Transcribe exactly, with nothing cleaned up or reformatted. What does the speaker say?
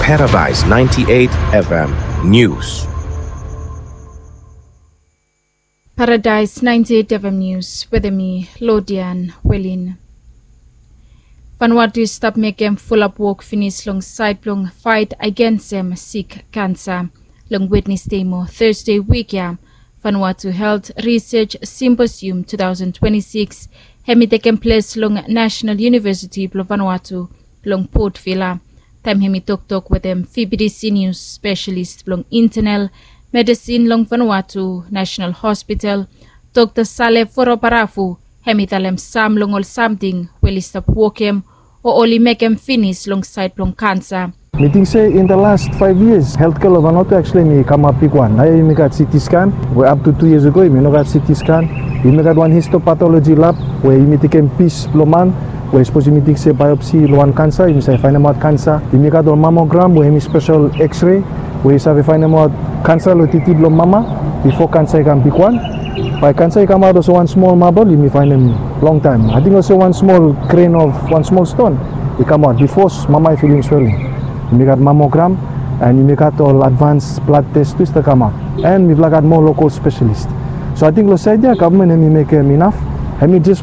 Paradise ninety-eight F M News. Paradise ninety-eight F M News wetem mi, Lodian Welin. Vanuatu i stap mekem fulap wok finis long saed blong faet agensem sik kansa. Long Wednesde mo Thursday wik ya, Vanuatu Health Research Symposium two thousand twenty-six hemi tekem ples long National University blong Vanuatu long Port Vila. Taem hemi toktok wetem V B T C News, spesialis blong internal medisin long Vanuatu National Hospital, Dokta Sale Foroparafu, hemi talem sam long ol samting we oli stap wokem o oli mekem finis long saed blong kansa. Mi ting se in the last five years, healthcare long Vanuatu actually hemi kamap bigwan. Naoia yumi gat C T scan we up to two years ago yumi no gat C T scan. Yumi gat wan histopathology lab we yumi tekem pis blong man we sapos yumi ting se biopsy long wan kansa yumi save faenemaot kansa. Yumi gat ol mammogram we hemi spesial X-ray we yu save faenemaot kansa long titi blong mama bifo kansa i kam bigwan. Bae kansa i kamaot olsem wan smol mabol yumi faenem longtaem. Ating olsem wan smol grain of wan smol ston i kamaot bifo mama i filim swelling. Yumi gat mammogram and yumi gat ol advance blad test tu i stap kamaot. And mifala gat moa lokol spesialis. So ating long saed ya gavman hemi mekem inaf. Hemi jes